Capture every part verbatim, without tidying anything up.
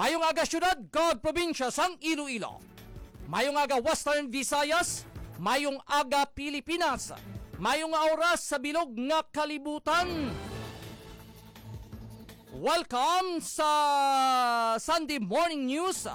Mayong aga, syudad kag probinsya sang Iloilo. Mayong aga, Western Visayas. Mayong aga, Pilipinas. Mayong oras sa bilog nga kalibutan. Welcome sa Sunday Morning News,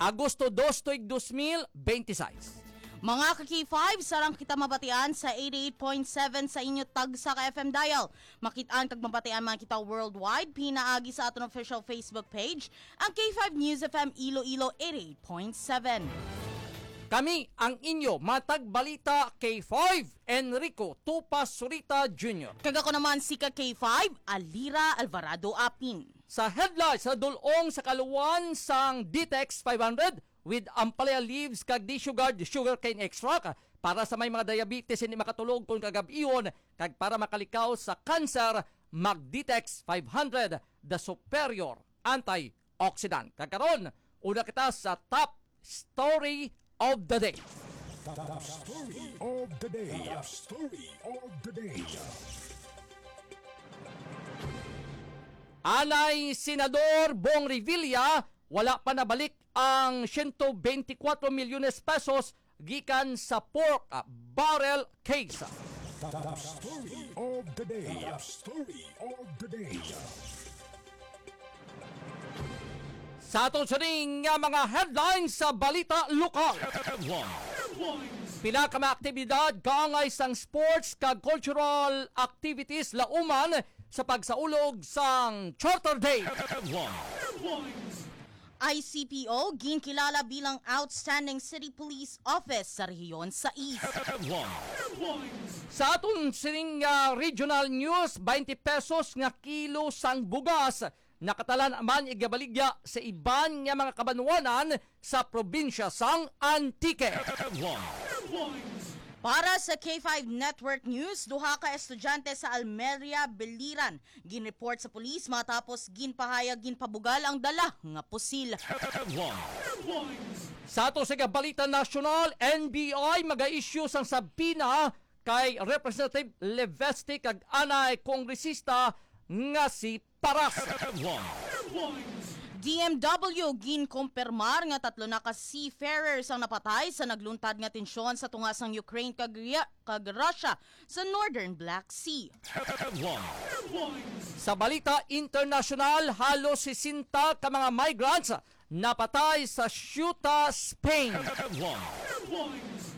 Agosto dos, tuig dos mil bente seis. Mga ka-K five, sarang kita mabatian sa eighty-eight point seven sa inyo tagsa ka F M dial. Makit-an kag mabatian man kita worldwide, pinaagi sa aton official Facebook page, ang K five News F M Iloilo eighty-eight point seven. Kami ang inyo matag balita, K five, Enrico Tupas Surita Junior. Kag ako naman si ka K five, Alira Alvarado Apin. Sa headlines, sa dul-ong sa kaluwan sang Ditex five hundred with ampalaya leaves kag Disuguard sugarcane extract para sa may mga diabetes hindi makatulog kon kagab-ihon, kag para makalikaw sa cancer, mag Ditex five hundred, the superior antioxidant. Kag karon, una kita sa top story of the day. Top story of the day. Top story of the day. Anay Senador Bong Revilla, wala pa nabalik ang siyento bente kuwatro milyones pesos gikan sa pork, ah, barrel case. Top story of the day. Top story of the day. Sa aton sining nga mga headlines sa balita lokal. Headlines. Pila ka mga aktibidad kaangay sang sports kag cultural activities lauman sa pagsaulog sang Charter Day. Headlines. I C P O ginkilala bilang Outstanding City Police Office sa Rehiyon sais. Headlines. Sa aton sining, ah, regional news, twenty pesos nga kilo sang bugas nakatalan man igabaligya sa iban nga mga kabanwanan sa probinsya sang Antique. Headlines. Para sa K five Network News, duha ka estudyante sa Almeria, Biliran, ginreport sa pulis matapos ginpahayag ginpabugal ang dala nga pusil. Headlines. Sa ato sa balita nasyonal, N B I mag-issue sang subpoena kay Representative Levesque kag anay kongresista nga si Paras. Headlines. D M W ginkumpirmar nga tatlo na ka seafarers ang napatay sa nagluntad nga tensyon sa tunga sang Ukraine kag Ria-, kag Russia sa Northern Black Sea. Headlines. Sa balita internasyonal, halos sesenta ka mga migrants napatay sa Ceuta, Spain. Headlines.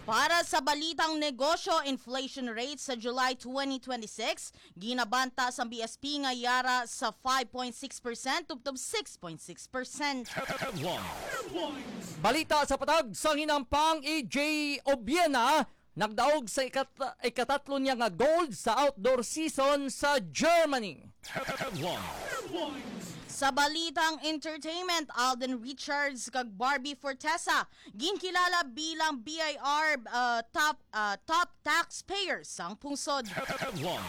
Para sa balitang negosyo, inflation rate sa July twenty twenty-six, ginabanta sang B S P nga yara sa five point six percent tubtob six point six percent. Headlines. Balita sa patag sang hinampang, A J Obiena nagdaog sa ikat-, ikatatlo niya nga gold sa outdoor season sa Germany. Headlines. Sa balitang entertainment, Alden Richards kag Barbie Fortesa ginkilala bilang B I R, uh, top, uh, top taxpayers sang pungsod. Headlines.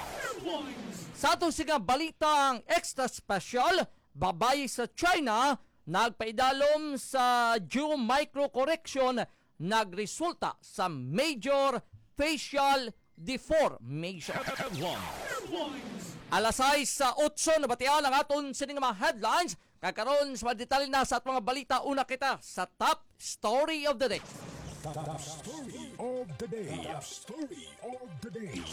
Sa ato sini nga balitang extra special, babayi sa China nagpaidalom sa Jew microcorrection nagresulta sa major facial deformation. Headlines. Alas sais sa otso nabatian ang aton sining mga headlines. Kag karon, sa mga detalye na sa aton mga balita, una kita sa top story of the day. Top story of the day. Top story of the day.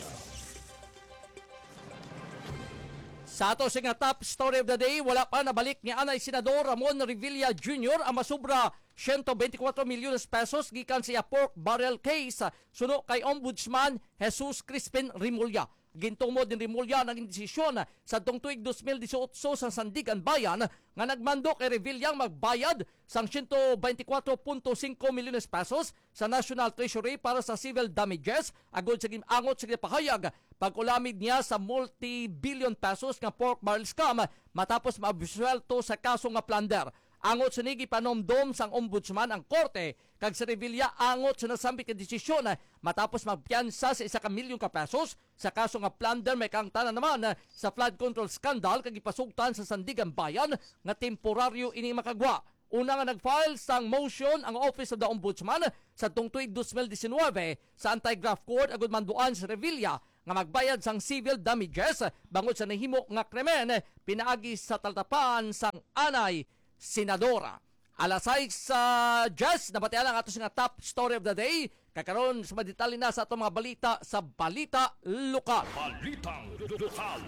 Sa ato sini nga top story of the day, wala pa nabalik ni anay Senador Ramon Revilla Junior ang masubra siyento bente kuwatro milyones pesos gikan sa iya pork barrel case, suno kay Ombudsman Jesus Crispin Remulla. Gintumod ni Remulla ang desisyon sa tuig dos mil disiotso sa Sandiganbayan nga nagmando kay Revilla ang magbayad sang siyento bente kuwatro punto singko milyones pesos sa National Treasury para sa civil damages agud sa gin-, angot sa ginpahayag pag-ulamid niya sa multi-billion pesos nga pork barrel scam matapos maabsuwelto sa kaso nga plunder. Angot sini, gipanumdom sang Ombudsman ang korte kag si Revilla angot sa nasambit nga desisyon matapos magpiyansa sa isa ka milyon ka pesos sa kaso nga plunder, may kaangtanan naman sa flood control scandal kag ipasugtan sa Sandiganbayan nga temporaryo ini makagwa. Una nga nag-file sang motion ang Office of the Ombudsman sa tuig dos mil disinwebe sa anti-graft court agud manduan si Revilla nga magbayad sang civil damages bangod sa nahimo nga krimen pinaagi sa talatapan sang anay senadora. Alas sais, ah, diyes, nabatian ang ato nga top story of the day. Kakaron, sa madetalye na sa atong mga balita sa Balita Lokal. Balitang Lokal.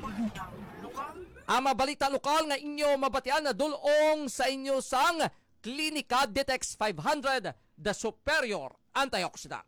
Ang mga balita lokal nga inyo mabatian na dul-ong sa inyo sang Klinika Ditex five hundred, the superior antioxidant.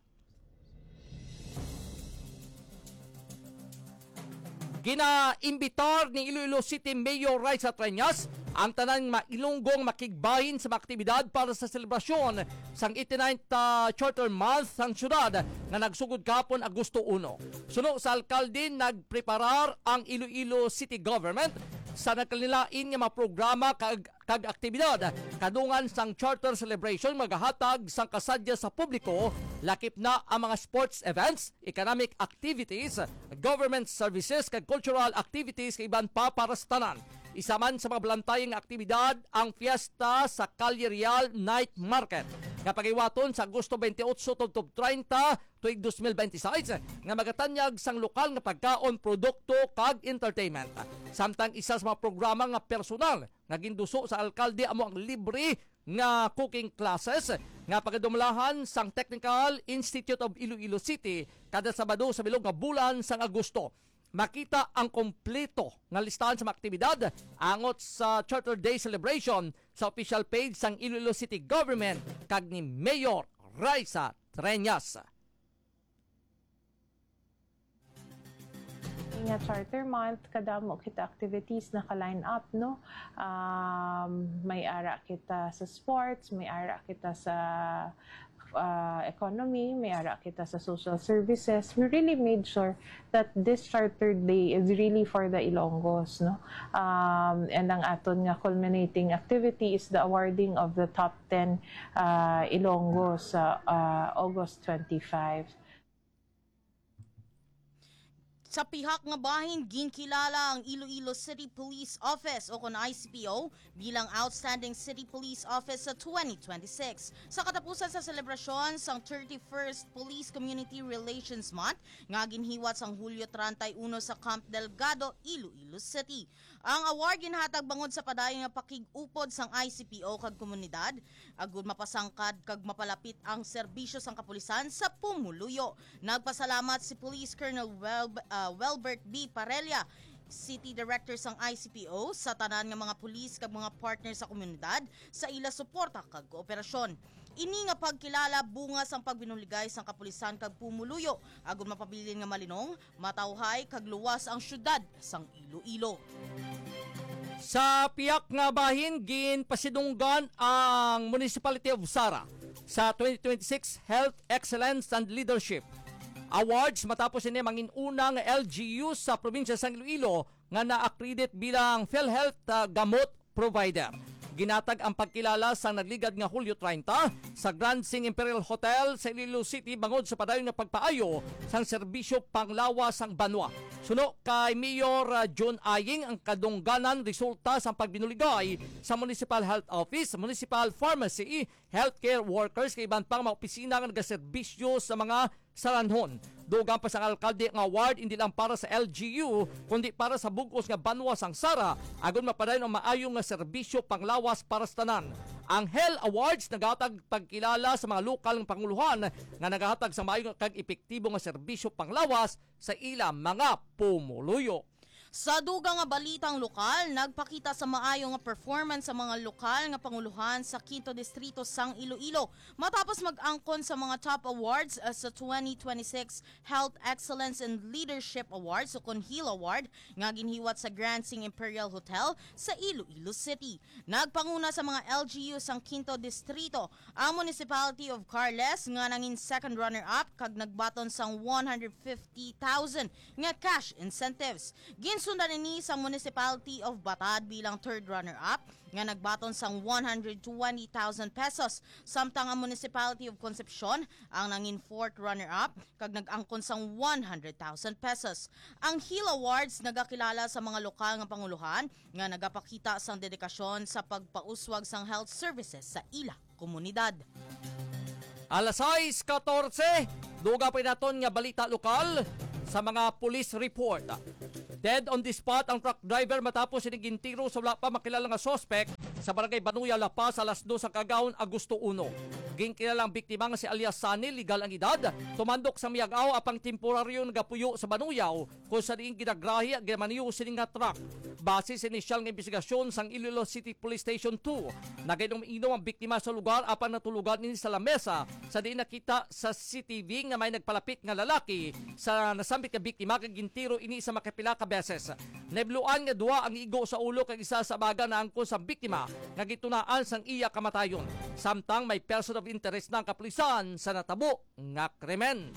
Ginaimbitar ni Iloilo City Mayor Raisa Treñas ang tanan nga Ilonggo nga makigbahin sa mga aktibidad para sa selebrasyon sang eighty-ninth, ah, Charter Month sang syudad nga nagsugod kahapon, Agosto uno. Suno sa alkalde, nagpreparar ang Iloilo City Government sa nagkalain-lain nga mga programa kag kag aktibidad kadungan sang Charter Celebration magahatag sang kasadya sa publiko, lakip na ang mga sports events, economic activities, government services, kag cultural activities, kag iban pa para sa tanan. Isa man sa mga balantay nga aktibidad ang fiesta sa Calle Real Night Market nga paghiwaton sa Agosto twenty-eight tubtob treinta tuig dos mil benti sais, nga magatanyag sang lokal nga pagkaon, produkto, kag entertainment. Samtang isa sa mga programa nga personal nga ginduso sa alkalde amo ang libre nga cooking classes nga pagadumalahan sang Technical Institute of Iloilo City kada Sabado sa bilog nga bulan sang Agosto. Makita ang kompleto nga listahan sa mga aktibidad angot sa Charter Day celebration sa official page sang Iloilo City Government kag ni Mayor Raisa Treñas. Nga Charter Month, kadamo kita activities naka-line up, no? Um, may ara kita sa sports, may ara kita sa, uh, economy, may ara kita sa social services. We really made sure that this Charter Day is really for the Ilonggos, no? Um, and ang aton nga culminating activity is the awarding of the top ten, uh, Ilonggos sa, uh, August twenty-five. Sa pihak nga bahin, ginkilala ang Iloilo City Police Office o kon I C P O bilang Outstanding City Police Office sa twenty twenty-six. Sa katapusan sa selebrasyon sang thirty-first Police Community Relations Month nga ginhiwat sang Hulyo treinta y uno sa Camp Delgado, Iloilo City. Ang award ginhatag bangod sa padayon nga pakig-upod sang I C P O kag komunidad, agud mapasangkad kag mapalapit ang serbisyo sang kapulisan sa pumuluyo. Nagpasalamat si Police Colonel Welb-, ah, Welbert B. Parella, City Director sang I C P O, sa tanan nga mga pulis kag mga partner sa komunidad sa ila suporta kag kooperasyon. Ini nga pagkilala bunga sang pagbinuligay sang kapulisan kag pumuluyo, agud mapabilin nga malinong, matawhay kag luwas ang siyudad sang Iloilo. Sa pihak nga bahin, ginpasidunggan ang Municipality of Sara sa twenty twenty-six Health Excellence and Leadership Awards matapos ini mangin-una nga L G U sa probinsya sang Iloilo nga na-accredit bilang PhilHealth, ah, gamot provider. Ginatag ang pagkilala sa nagligad nga Hulyo treinta sa Grand Sing Imperial Hotel sa Iloilo City bangod sa padayon nga pagpaayo sang serbisyo panglawas sang banwa. Suno kay Mayor, ah, Jun Aying, ang kadungganan resulta sang pagbinuligay sa Municipal Health Office, Municipal Pharmacy, healthcare workers kag iban pang mga opisina nga nagaserbisyo sa mga saranhon. Dugang pa sang alkalde nga award hindi lang para sa L G U, kundi para sa bug-os nga banwa sang Sara, agud mapadayon ang maayo nga serbisyo panglawas para sa tanan. Ang Hel Awards nagahatag pagkilala sa mga lokal nga panguluhan nga nagahatag sa maayo kag epektibo nga serbisyo panglawas sa ila mga pumuluyo. Sa dugang nga balitang lokal, nagpakita sa maayo nga performance ang mga lokal nga panguluhan sa Quinto Distrito sang Iloilo matapos mag-angkon sa mga top awards, uh, sa twenty twenty-six Health Excellence and Leadership Awards o kon HEAL Award nga ginhiwat sa Grand Sing Imperial Hotel sa Iloilo City. Nagpanguna sa mga L G U sang Quinto Distrito ang Municipality of Carles nga nangin second runner-up kag nagbaton sang one hundred fifty thousand nga cash incentives. Ginsundan ini sang Municipality of Batad bilang third runner-up nga nagbaton sang one hundred twenty thousand pesos, samtang ang Municipality of Concepcion ang nangin fourth runner-up kag nag-angkon sang one hundred thousand pesos. Ang HEAL Awards nagakilala sa mga lokal nga panguluhan nga nagapakita sang dedikasyon sa pagpauswag sang health services sa ila komunidad. Alas sais katorse, dugang pa naton nga balita lokal sa mga police report. Dead on the spot ang truck driver matapos sini gintiro sa wala pa makilala nga suspek sa Barangay Banuya, La Paz, alas dos sa kaagahon, Agosto uno. Ginkilala ang biktima nga si alias Sunny, legal ang edad, tumandok sa Miag-ao apang temporaryo nagapuyo sa Banuyaw, kung sa diin ginagrahi ang ginamaniho sini nga truck. Base sa inisyal nga imbestigasyon sang Iloilo City Police Station two, nagainom-inom ang biktima sa lugar apang natulugan ini sa lamesa sa diin nakita sa C C T V nga may nagpalapit nga lalaki sa nasambit nga biktima kag gintiro ini sa makapila ka beses. Nabluan nga duha ang igo sa ulo kag isa sa baga naangkon sa biktima nga gitunaan sang iya kamatayon. Samtang may person of interest na ang kapulisan sa natabo nga krimen.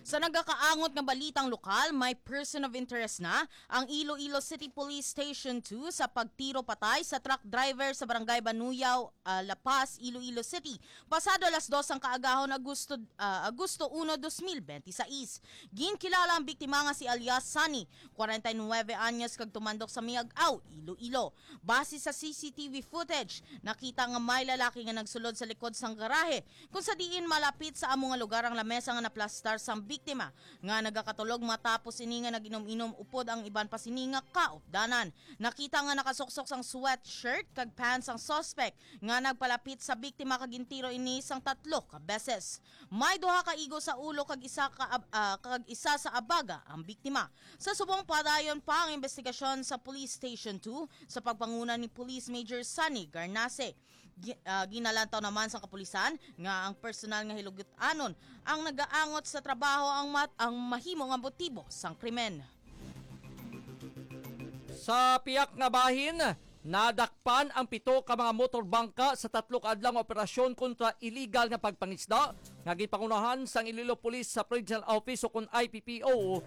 Sa nagakaangot nga balitang lokal, may person of interest na ang Iloilo City Police Station two sa pagtiro patay sa truck driver sa Barangay Banuyaw, ah, La Paz, Iloilo City, pasado alas dos ang kaagahon, Agosto, ah, Agosto uno, dos mil benti sais. Ginkilala ang biktima nga si alias Sunny, kwarenta y nuwebe anyos, kag tumandok sa Miag-ao, Iloilo. Base sa C C T V footage, nakita nga may lalaki nga nagsulod sa likod sang garahe kung sa diin malapit sa amo nga lugar ang lamesa nga naplastar sang biktima nga nagakatulog matapos ini nga nag-inom-inom upod ang iban pa sini nga kaupdanan. Nakita nga nakasuksok sang sweatshirt kag pants ang suspect nga nagpalapit sa biktima kag gintiro ini sang tatlo ka beses. May duha ka igo sa ulo kag isa ka ab-, ah, kag isa sa abaga ang biktima. Sa subong, padayon pa ang investigasyon sa Police Station two sa pagpanguna ni Police Major Sunny Garnase. Gi-, ah, ginalantaw naman sa kapulisan nga ang personal nga hilugut-anon ang nagaangot sa trabaho ang mat-, ang mahimo nga motibo sang krimen. Sa pihak nga bahin, nadakpan ang pito ka mga motor bangka sa tatlo ka adlaw nga operasyon kontra iligal nga pagpangisda nga ginpangunahan sang Iloilo Police sa Provincial Office o kon I P P O,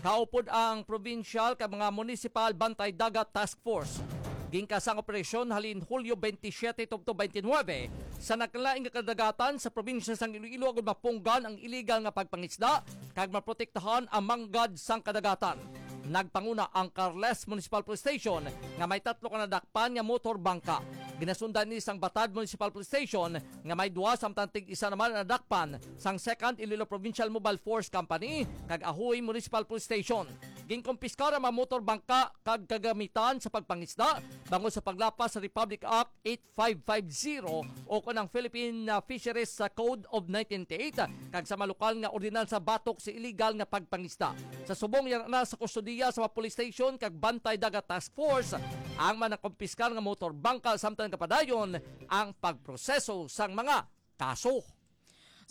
kaupod ang provincial kag mga municipal Bantay Dagat Task Force. Ginkasa ang operasyon halin Hulyo twenty-seven tubtob twenty-nine sa nagkalain nga kadagatan sa probinsya sang Iloilo agud mapunggan ang iligal nga pagpangisda kag maprotektahan ang manggad sang kadagatan. Nagpanguna ang Carles Municipal Police Station nga may tatlo ka nadakpan nga motor bangka. Ginasundan ni sang Batad Municipal Police Station nga may duwa, samtang tig-isa naman ang nadakpan sang Second Iloilo Provincial Mobile Force Company kag Ajuy Municipal Police Station. Ginkumpiskar ang mga motor bangka kag kagamitan sa pagpangisda bangod sa paglapas sa Republic Act eight five five zero o kon ang Philippine, ah, Fisheries, ah, Code of nineteen eighty-eight, ah, kag sa mga lokal nga ordinansa batok sa iligal nga pagpangisda. Sa subong, yara na sa kustodiya sa mga police station kag Bantay Dagat Task Force ang mga nakumpiskar nga motor bangka, samtang gapadayon ang pagproseso sang mga kaso.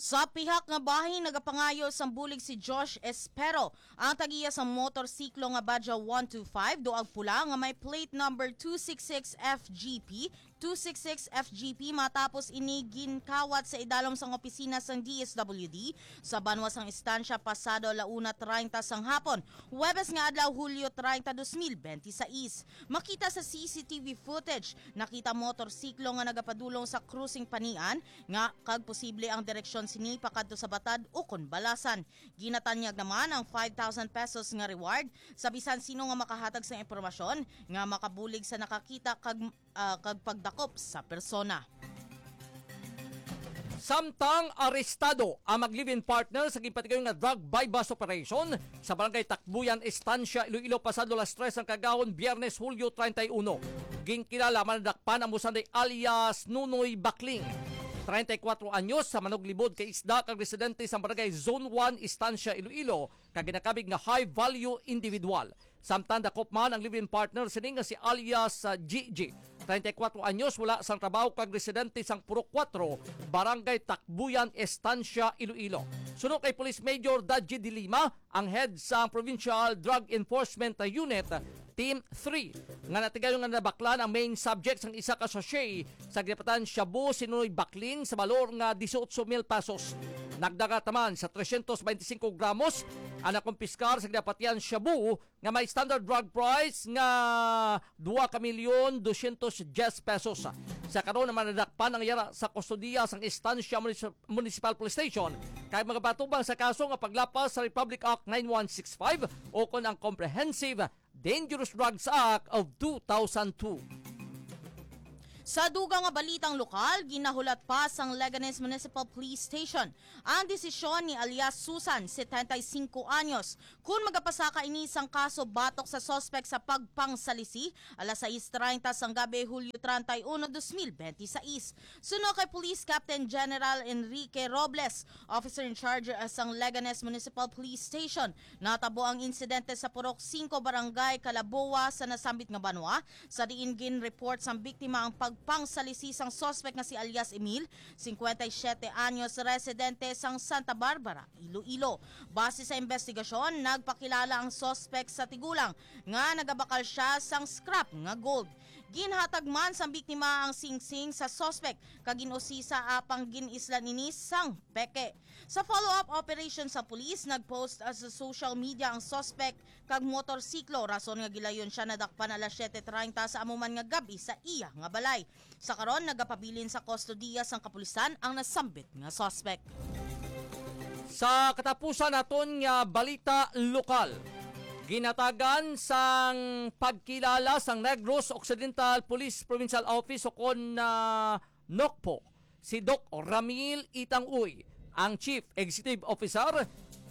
Sa pihak nga bahin, nagapangayo sang bulig si Josh Espero, ang tag-iya sa motorsiklo nga Badja one two five, duag pula, nga may plate number two six six F G P, two six six F G P, matapos ini ginkawat sa idalom sang opisina sang D S W D sa banwa sang Estancia pasado ala una treinta sang hapon, Huwebes nga adlaw, Hulyo treinta, dos mil benti sais. Makita sa C C T V footage, nakita motorsiklo nga nagapadulong sa crossing Panian nga kag posible ang direksyon sini pakadto sa Batad ukon Balasan. Ginatanyag naman ang five thousand pesos nga reward sa bisan sino nga makahatag sang impormasyon nga makabulig sa nakakita kag, ah, kag pagdakop sa persona. Samtang arestado ang mag-live-in partner sa ginpatigayon nga drug buy-bust operation sa Barangay Takbuyan, Estancia, Iloilo, pasado alas tres ang kagahon, Biyernes, Hulyo treinta y uno. Ginkilala man nadakpan ang Musanday alias Nunoy Bakling, treinta y cuatro anyos, sa manuglibod kay isda kag residente sa Barangay Zone one, Estancia, Iloilo, kag ginakabig nga high value individual. Samtang dakop man ang live-in partner sini nga si alias, ah, G G, treinta y cuatro anyos, wala sang trabaho kag residente sang Purok Kuwatro, Barangay Takbuyan, Estancia, Iloilo. Suno kay Police Major Daji de Lima, ang head sang Provincial Drug Enforcement Unit, Team three, nga natigayon nga nabaklan ang main subject sang isa ka sachet sa ginapatihan shabu si Nunoy Bakling sa balor nga dieciocho mil pesos. Nagdagat naman sa trescientos veinticinco gramos ang nakumpiskar sa ginapatihan shabu nga may standard drug price nga dua ka milyon dosyentos diyes pesos. Sa karon naman, nadakpan ang yara sa kustodiya sang Estancia Munis-, Municipal Police Station kay magapatubang sa kaso nga paglapas sa Republic Act nine one six five o kon ang Comprehensive Dangerous Drugs Act of two thousand two. Sa dugang nga balitang lokal, ginahulat pa sang Leganes Municipal Police Station ang desisyon ni alias Susan, setenta y cinco anyos, kun magapasaka ini sang kaso batok sa suspek sa pagpangsalisi alas sais treinta sang gabi, Hulyo treinta y uno, dos mil benti sais. Suno kay Police Captain General Enrique Robles, officer in charge, uh, sang Leganes Municipal Police Station, natabo ang insidente sa Purok Singko, Barangay Calaboa, sa nasambit nga banwa, sa diin gin-report sang biktima ang pagpangsalisi sang suspek nga si alias Emil, cincuenta y siete anyos, residente sang Santa Barbara, Iloilo. Base sa investigasyon, nagpakilala ang suspek sa tigulang nga nagabakal siya sang scrap nga gold. Ginhatag man sang biktima ang singsing sa suspek kag gin-usisa, apang gin-islan ini sang peke. Sa follow-up operation sa pulis, nag-post, ah, sa social media ang suspek kag motorsiklo, rason nga gilayon siya nadakpan alas siete treinta sa amo man nga gab-i sa iya nga balay. Sa karon, nagapabilin sa kustodiya sang kapulisan ang nasambit nga suspek. Sa katapusan naton nga balita lokal, ginatagan sang pagkilala sang Negros Occidental Police Provincial Office, ukon na NOCPO, si Doc Ramil Itang Uy, ang Chief Executive Officer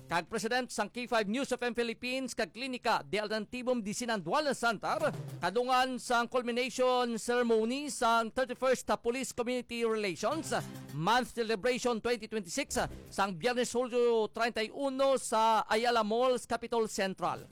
kag President sang K five News F M Philippines kag Klinika de Alternativo Medicina and Wellness Center, kadungan sang culmination ceremony sang thirty-first Police Community Relations Month Celebration twenty twenty-six sang Biyernes, Hulyo treinta y uno, sa Ayala Malls, Capitol Central.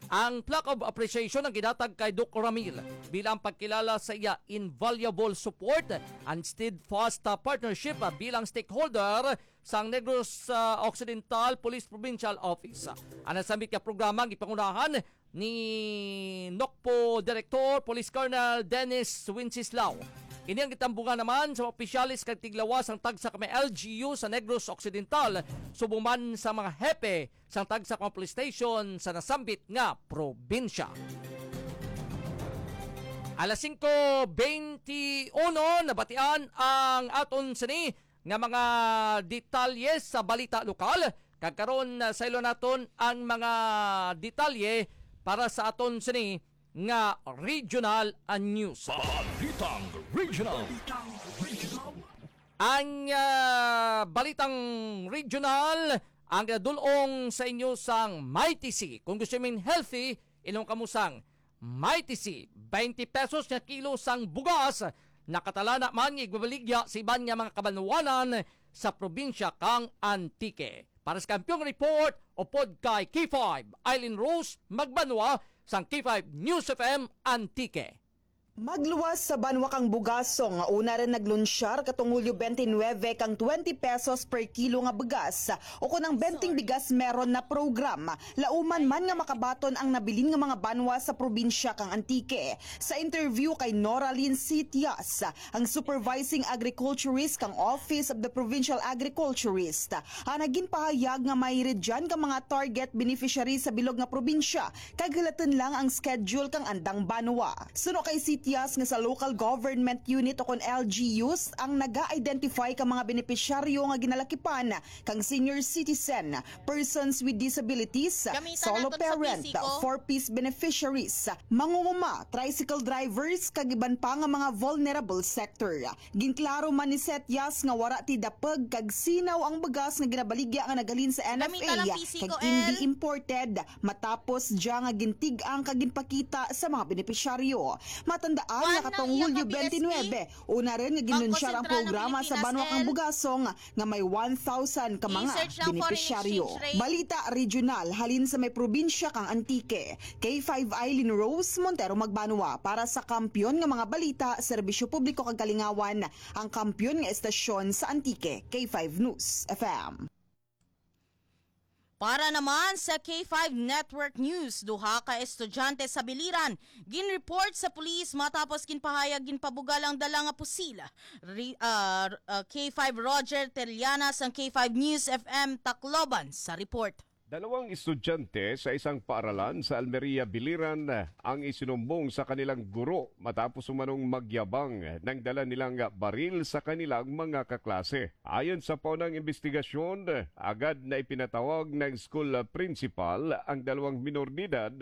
Ang plaque of appreciation ang gidatag kay Doc Ramil bilang pagkilala sa iya invaluable support and steadfast, uh, partnership, uh, bilang stakeholder sang Negros, uh, Occidental Police Provincial Office. Ang nasambit nga programa ang gipangunahan ni NOCPO Director Police Colonel Dennis Wenceslao. Ini ang gitambungan naman sa mga opisyales kag tiglawas sang tagsa ka mga L G U sa Negros Occidental, subong man sa mga hepe sang tagsa ka mga police station sa nasambit nga probinsya. Alas singko beinti uno, nabatian ang aton sini nga mga detalye sa balita lokal. Kag karon, ah, saylo naton ang mga detalye para sa aton sini nga regional, ah, news. Balitang Regional. Ang, ah, balitang regional ang dul-ong sa inyo sang Mighty C. Kung gusto mo healthy, inom kamo sang Mighty C. Twenty pesos nga kilo sang bugas, nakatalana man nga igbabaligya sa iban nga mga kabanwanan sa probinsya kang Antique. Para sa Kampiyon Report, upod kay K five, Eileen Rose Magbanwa, sang K five News F M Antique. Magluwas sa banwa kang Bugasong, nga una rin naglunsyar katong Hulyo twenty-nine kang twenty pesos per kilo nga bugas, o kon ang Benteng Bigas Meron na program. Lauman man nga makabaton ang nabilin nga mga banwa sa probinsya kang Antique. Sa interview kay Nora Lynn Sitias, ang supervising agriculturist kang Office of the Provincial Agriculturist, ang ginpahayag nga may ridyan ka mga target beneficiaries sa bilog nga probinsya, kag hilaton lang ang schedule kang andang banwa. Suno kay Sitias nga sa local government unit o kon L G Us ang naga-identify ka mga benepisyaryo nga ginalakipan kang senior citizen, persons with disabilities, Gamita solo naton sa parent, P C ko. Four Ps beneficiaries, mangunguma, tricycle drivers, kag iban pa nga mga vulnerable sector. Ginklaro man ni Setias nga wara ti dapeg kag sinaw ang bugas nga ginabaligya nga naghalin sa N F A Gamita lang P C kag ko, indi L. imported, matapos dya nga gintig-ang kag ginpakita sa mga benepisyaryo. Matandaan Kuan nga katong lang iya Hulyo ka P S P. twenty-nine, una rin nga ginunsyar ang Bangko Sentral ng programa sa Pilipinas, banwa kang L. Bugasong nga may one thousand ka mga I-search lang foreign benepisyaryo. exchange rate. Balita regional halin sa may probinsya kang Antique. K five Eileen Rose Montero Magbanwa para sa Kampiyon nga mga Balita, Serbisyo Publiko kag Kalingawan, ang kampiyon nga estasyon sa Antique, K five News F M. Para naman sa K five Network News, duha ka estudyante sa Biliran ginreport sa pulis matapos ginpahayag ginpabugal ang dala nga pusil. Ri-, ah, ah, K five Roger Telianas ang K five News F M Tacloban sa report. Dalawang estudyante sa isang paaralan sa Almeria, Biliran ang isinumbong sa kanilang guro matapos umanong magyabang nang dala nilang baril sa kanilang mga kaklase. Ayon sa paunang investigasyon, agad na ipinatawag ng school principal ang dalawang minor de edad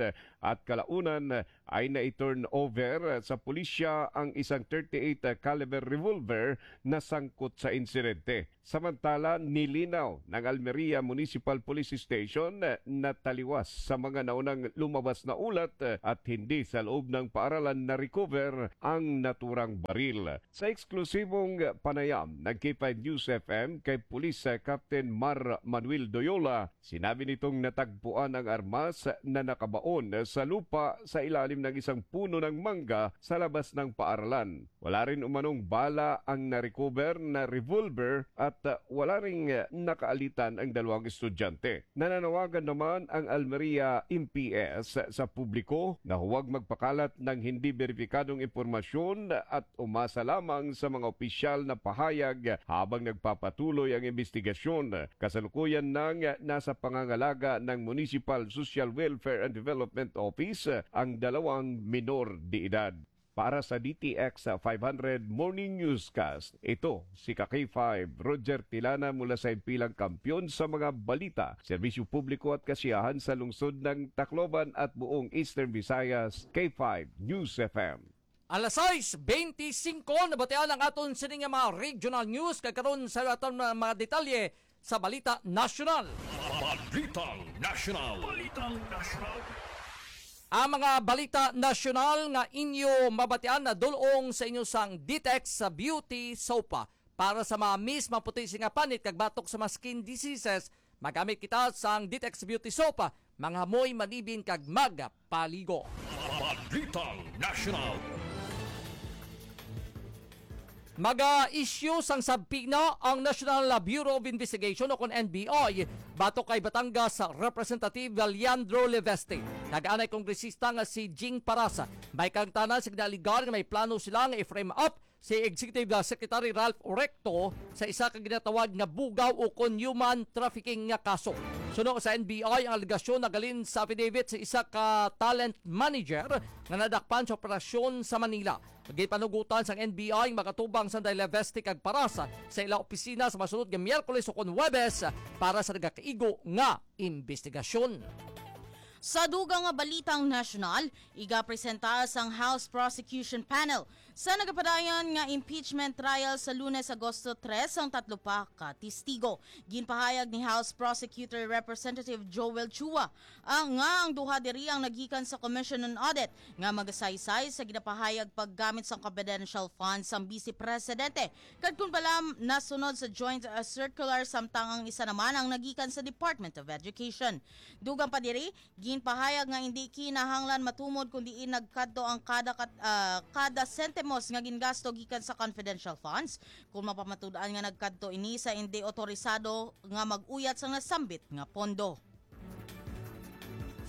at kalaunan ay nai-turn over sa pulisya ang isang thirty-eight caliber revolver na sangkot sa insidente. Samantala, nilinaw ng Almeria Municipal Police Station na taliwas sa mga naunang lumabas na ulat at hindi sa loob ng paaralan na-recover ang naturang baril. Sa eksklusibong panayam ng K five News F M kay Police Captain Mar Manuel Doyola, sinabi nitong natagpuan ang armas na nakabaon sa lupa sa ilalim ng isang puno ng mangga sa labas ng paaralan. Wala rin umanong bala ang na-recover na revolver at, ah, wala ring, ah, nakaalitan ang dalawang estudyante. Nananawagan naman ang Almeria M P S sa publiko na huwag magpakalat ng hindi beripikadong impormasyon at umasa lamang sa mga opisyal na pahayag habang nagpapatuloy ang investigasyon. Kasalukuyan nang nasa pangangalaga ng Municipal Social Welfare and Development Office ang dalawang minor de edad. Para sa D T X five hundred Morning Newscast, ito si ka K five, Roger Tilana mula sa Impilang Kampiyon sa mga balita, serbisyo publiko at kasiyahan sa lungsod ng Tacloban at buong Eastern Visayas, K five News F M. Alas sais beintisinko, nabatian ang aton sini nga mga regional news, kag karon sa aton mga, mga detalye sa balita nasyonal. Balitang Nasyonal. Balitang Nasyonal. Ang mga balita nasyonal nga inyo mabatian na dulong sa inyo sang Ditex sa Beauty Soap. Para sa mga miss, maputi sing panit kag batok sa mga skin diseases, magamit kita sang Ditex Beauty Soap. Manghamoy, manibin kag magpaligo. Balitang Nasyonal. Maga-issue sang subpoena ang National Bureau of Investigation o kon N B I batok kay Batangas Representative Leandro Leveste. Nag-anay kongresista nga si Jing Parasa. May kaangtanan sa ginaaligar nga may plano sila nga i-frame up si Executive Secretary Ralph Recto sa isa ka ginatawag nga bugaw o kon human trafficking nga kaso. Suno sa N B I, ang alegasyon nagalin sa affidavit sa isa ka talent manager nga nadakpan sa operasyon sa Manila. Ginpanugutan sang N B I ang mag-atubang sang Leveste kag Parasa sa ila opisina sa masunod nga Miyerkules o kon Huwebes para sa nagakaigo nga imbestigasyon. Sa dugang nga balitang nasyonal, igapresenta sang House Prosecution Panel sa nagapadayon nga impeachment trial sa Lunes, Agosto tres, ang tatlo pa ka testigo. Ginpahayag ni House Prosecutor Representative Joel Chua ang, nga ang duha diri ang nagikan sa Commission on Audit nga magasaysay sa ginapahayag paggamit sang confidential funds sang Vice Presidente, kag kon bala nasunod sa joint, uh, circular, samtang ang isa naman ang nagikan sa Department of Education. Dugang pa diri, ginpahayag nga indi kinahanglan matumod kon diin nagkadto ang kada kat-, ah, kada sentimos nga gingasto gikan sa confidential funds, kon mapamatud-an nga nagkadto ini sa indi otorisado nga mag-uyat sang nasambit nga pondo.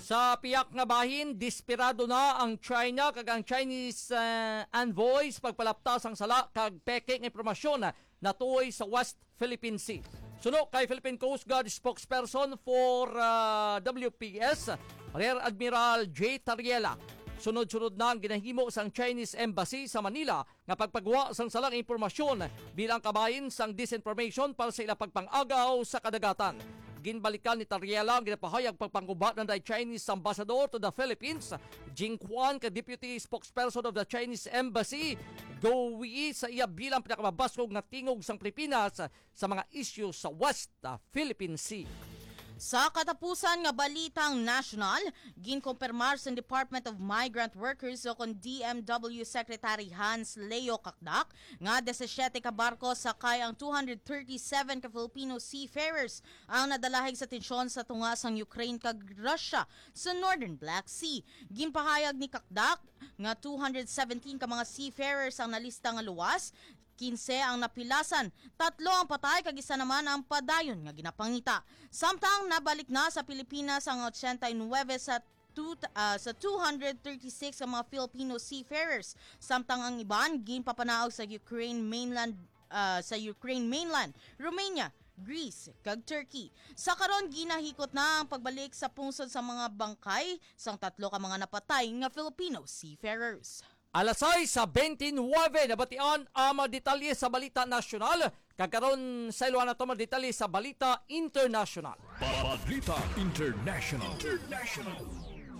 Sa piyak nga bahin, desperado na ang China kag ang Chinese, ah, envoy sa pagpalapta sang sala kag peke nga impormasyon natuoy sa West Philippine Sea. Suno kay Philippine Coast Guard spokesperson for, ah, W P S, Rear Admiral J Tariela, sunod-sunod na ang ginahimo sang Chinese Embassy sa Manila nga pagpagwa sang salang impormasyon bilang kabahin sang disinformation para sa ila pagpang-agaw sa kadagatan. Ginbalikan ni Tariela ang ginapahayag pagpangguba ng Chinese Ambassador to the Philippines, Jing Quan, kay Deputy Spokesperson of the Chinese Embassy, Go Wei, sa iya bilang pinakamabaskog nga tingog sang Pilipinas sa mga isyu sa West, ah, Philippine Sea. Sa katapusan nga balitang nasyonal, ginkumpirmar sa Department of Migrant Workers o kon D M W Secretary Hans Leo Cacdac nga disisiete ka barko sakay ang two hundred thirty-seven ka Filipino seafarers ang nadalahig sa tensyon sa tunga sang Ukraine kag Russia sa Northern Black Sea. Ginpahayag ni Cacdac nga two hundred seventeen ka mga seafarers ang nalista nga luwas, kinse ang napilasan, tatlo ang patay kag isa naman ang padayon nga ginapangita. Samtang nabalik na sa Pilipinas ang ochenta y nuebe sa two, ah, sa two hundred thirty-six ka mga Filipino seafarers, samtang ang iban ginpapanaog sa Ukraine mainland, ah, sa Ukraine mainland, Romania, Greece, kag Turkey. Sa karon, ginahikot na ang pagbalik sa pungsod sa mga bangkay sang tatlo ka mga napatay nga Filipino seafarers. Alas sais sa twenty-nine, nabatian ang mga detalye sa balita nasyonal. Kag karon, saylohan nato mga detalye sa balita internasyonal. Balita International. International.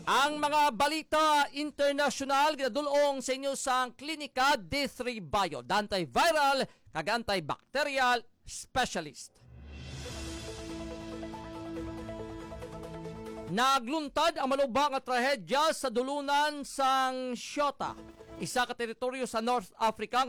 Ang mga balita internasyonal ginadul-ong sa inyo sang Klinika D three Bio, the antiviral kag antibacterial specialist. Nagluntad ang maluba nga trahedya sa dulunan sang Shota, isa ka teritoryo sa North Africa nga